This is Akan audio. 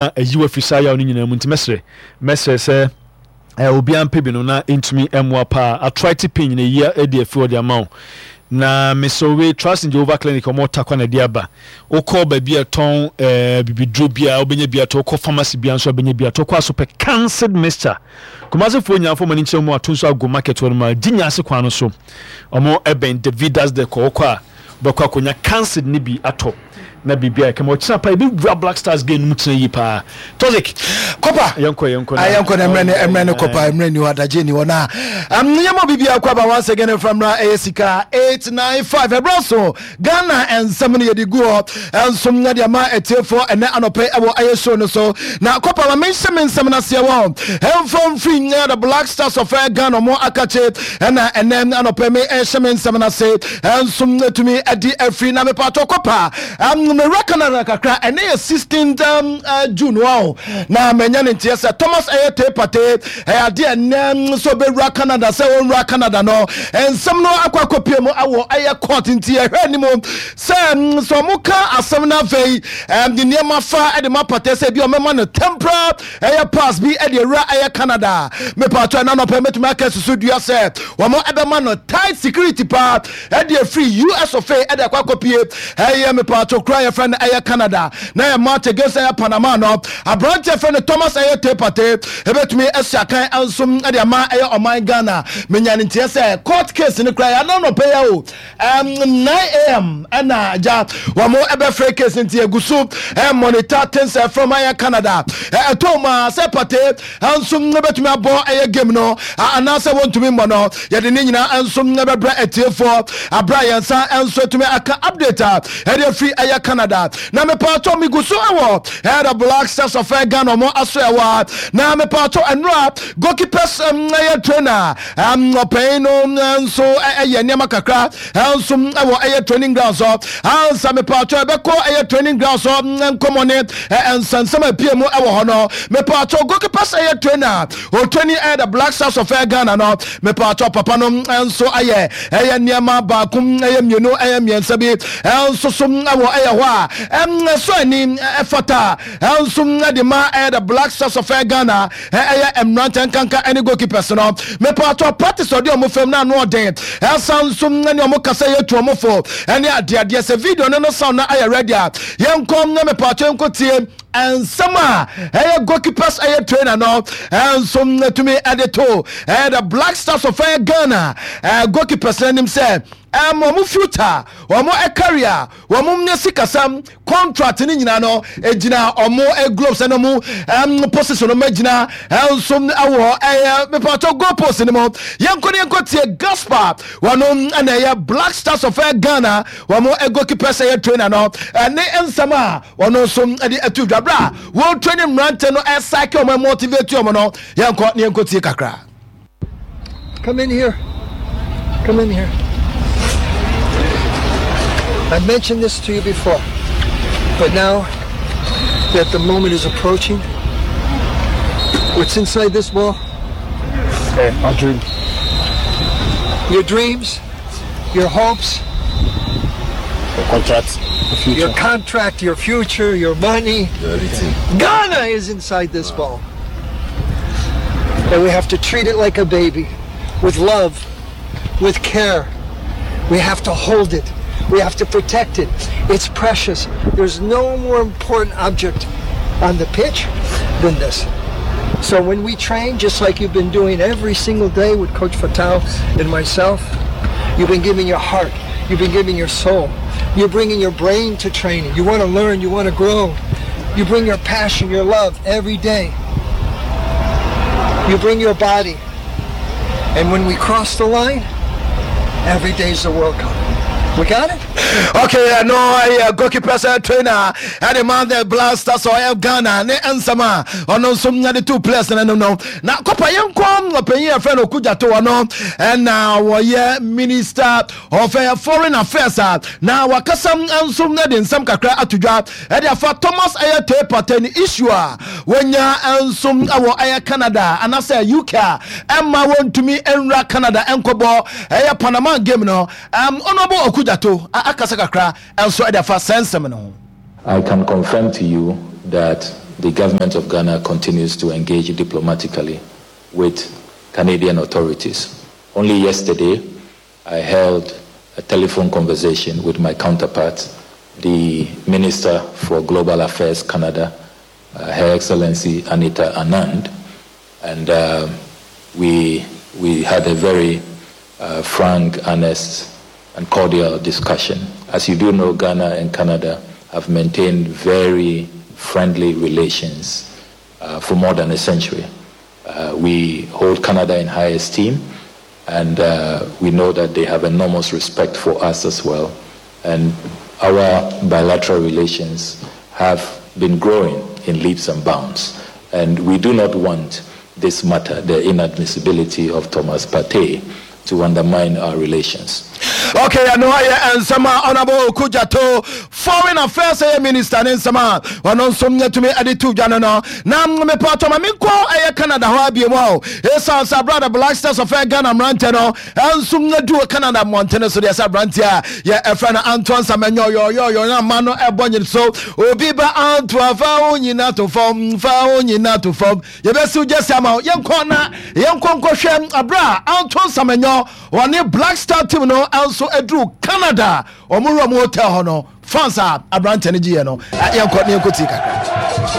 Ayi wo afiri saa yaw no nyinaa mu nti mɛsrɛ mɛsrɛ sɛ eh, obiara mpɛ bi no na ɛntumi mmoa paa arthritis pain nyina yi adi afiri hɔ de ama wo na mesrɛ wei Trust in Jehovah Clinic ɔmo takwa na ɛde aba wokɔ baabi a ɛtɔn eh, bibiduro biara wobɛnya bi atɔ wokɔ pharmacy biara nso wobɛnya bi atɔ wokɔ asopɛ cancelled mixture Kumasefoɔ nyinaa fo mani nkyerɛ mu ato nso ago market hɔ no ma gye nyaase kwan no so ɔmo ɛbɛn Davidas Decor wokɔ a Wobɛkɔ akɔnya cancid no bi atɔ na biribi ayɛ kama. Ɔkyena paa yɛbɛwura Black Stars game no mu kyena yie paa. Toxic. Kɔpa. Yɛnkɔ yɛnkɔ na. Yɛnkɔ na mmerɛ ne mmerɛ ne kɔpa mmerɛ ni hɔ adagye ni hɔ na um, yɛma biribi akɔ aba once again mfa mmra ɛyɛ sika 895 ɛberɛ so Ghana nsɛm no yɛde gu hɔ nso na de ama atiefoɔ ɛnɛ anɔpɛ ɛwɔ ɛyɛ show no so na kɔpa ma menhyɛ me nsɛm no aseɛ wɔ ɛmfa mfiri nyɛ the Black Stars of Ghana ɔmo akakye ɛna ɛnɛ anɔpɛ me ɛhyɛ me nsɛm no ase nso tumi adi afiri na mepatɔ kɔpa mewura Canada kakra ɛnɛ yɛ 16th June wɔ na manya ne nteɛ sɛ Thomas ɛyɛ tee pate ɛyɛ adeɛ ɛnɛ sɛ ɔbɛwura Canada sɛ ɔnwura Canada no nsɛm no akɔ akɔpie mu awɔ ɛyɛ court nti ɛhwɛ anim sɛ sɛ ɔmo ka asɛm no afei de nneɛma fa de ma pate sɛ ebi ɔmɛma no temporal ɛyɛ pass bi de awura ɛyɛ Canada mepatɔ ɛna nɔpɛ mɛtumi aka susu dua sɛ wɔn ɛbɛma no tight security paa ɛde afiri US of A ɛde akɔ akɔpie ɛyɛ mepatɔ kura yɛfrɛ no ɛyɛ Canada na yɛ match against ɛyɛ Panama no aberanteɛ fɛ no Thomas ɛyɛ Tepate ɛbɛtumi asi akan nso ɛde ama ɛyɛ ɔman Ghana menya ne nteɛ sɛ court case no kura yɛ ana nɔpɛ yɛ o 9am ɛna agya wɔn ɛbɛfrɛ case nti egu so ɛmonitor things from ɛyɛ Canada ɛtɔ mu a sɛ pate nso ɛbɛtumi abɔ ɛyɛ game no anaasɛ wɔntumi mmɔ no yɛde ne nyinaa nso ɛbɛbrɛ atiefoɔ abira yɛn nsa nso atumi aka update a ɛde afiri ɛyɛ Canada na mepatɔ megu so ɛwɔ ɛyɛ the Black Stars of Ghana wɔn aso ɛwɔ na mepatɔ ɛnura goalkeepers ɛyɛ trainer Ɔpanyin no nso yɛ nneɛma kakra nso wɔ ɛyɛ training ground so. Ansa mepatwɔ ɛbɛkɔ ɛyɛ training ground so nkɔmɔ ne nsɛnsɛm a epie mu wɔ hɔ no. Mepatwɔ goalkeepers ɛyɛ trainer otraining ɛyɛ the Black Stars of Ghana no. Mepatwɔ papa no nso ayɛ ɛyɛ nneɛma baako ɛyɛ mmienu ɛyɛ mmiɛnsa bi nso so wɔ ɛyɛ hɔ a ɛsɔ ani ɛfata nso ɛde ma ɛyɛ the Black Stars of Ghana. Ɛyɛ mmeranteɛ nkanka ɛne goalkeepers no. Mepatɔ practice ɔde ɔmo fam na ano ɔden. Ɛsan nso ɛne ɔmo kasa yɛ tu ɔmo fo ɛne adeadeɛ. Sɛ video no no sound no ayɛ ready a yɛnkɔ na mepatɔ yɛnkɔ tie nsɛm a ɛyɛ goalkeepers ɛyɛ trainer no ɛnso ɛtumi ɛde to ɛyɛ the Black Stars of ɛyɛ Ghana goalkeepers no anim sɛ ɛm ɔmo future ɔmo career Wɔn nyɛ sikasɛm contract ne nyinaa no egyina wɔn gloves ɛna wɔn position wɔn agyina nso ɛwɔ ɛyɛ mepatɔ goal post ne mu. Yɛnkɔ ne yɛnkɔ tie Gaspar wɔn ɛna ɛyɛ Black Stars of Ghana wɔn goalkeepers ɛyɛ trainer no ɛne nsɛm a wɔn nso ɛde ɛto dwa bra wɔn training mmerante no ɛsake wɔn motivate wɔn no yɛnkɔ ne yɛnkɔ tie kakra. Come in here. Come in here. I mentioned this to you before, but now that the moment is approaching, what's inside this ball? Hey, our dream. Your dreams, your hopes, your contract, your future. Your contract, your future, your money. Your everything. Ghana is inside this ball. And we have to treat it like a baby, with love, with care. We have to hold it. We have to protect it. It's precious. There's no more important object on the pitch than this. So when we train, just like you've been doing every single day with Coach Fatal and myself, you've been giving your heart, you've been giving your soul, you're bringing your brain to training. You want to learn, you want to grow. You bring your passion, your love every day. You bring your body. And when we cross the line, every day's the World Cup. We got it? Okay, no, I goalkeeper trainer and the man the Blasters or Ghana ne nsɛm a ɔno nso nya de two players no no na kɔpa yɛn kɔ ɔpanyin yɛfrɛ no Okudzeto ɔno ɛna wɔyɛ minister of foreign affairs a na wakasa nso de nsɛm kakra ato dwa ɛde afa Thomas ɛyɛ Teye Partey ne issue a wɔnya nso wɔ ɛyɛ Canada anaasɛ UK a ɛma wɔntumi nwura Canada nkɔbɔ ɛyɛ Panama game no. Honourable Okudzeto akasa kakra nso ɛde afa saa nsɛm no ho. I can confirm to you that. The government of Ghana continues to engage diplomatically with Canadian authorities. Only yesterday, I held a telephone conversation with my counterpart, the Minister for Global Affairs Canada, uh, Her Excellency Anita Anand, and uh, we, we had a very uh, frank, honest, and cordial discussion. As you do know, Ghana and Canada have maintained very friendly relations uh, for more than a century. Uh, we hold Canada in high esteem, and uh, we know that they have enormous respect for us as well. And our bilateral relations have been growing in leaps and bounds. And we do not want this matter, the inadmissibility of Thomas Partey, to undermine our relations. Okay, ɛno ayɛ nsɛm a Honorable Okudzeto Foreign Affairs ɛyɛ minister ne nsɛm a ɔno nso nyɛtumi de to dwa no no na mepatɔ ma menkɔ ɛyɛ Canada hɔ abie mu a ɛsiane sɛ aberɛ the Black Stars of Ghana mmerantɛ no ɛnso nyɛdu Canada mmɔntene so deɛ sɛ aberanteɛ a yɛ ɛfrɛ no Antoine Semenyo yɔyɔyɔ na ama no ɛbɔ nyere so obi ba Antoine fa wo nyina to fam fa wo nyina to fam Yɛbɛsiw gyesi ama wo. Yɛnkɔ na yɛnkɔ nkɔhwɛ abere a Anton Samenyo wɔne Black Star team no nso aduru Canada. Wɔn wura mu hotel hɔ no, fans a aberante no gyeeɛ no, yɛnkɔ na yɛnkɔ tie kakra.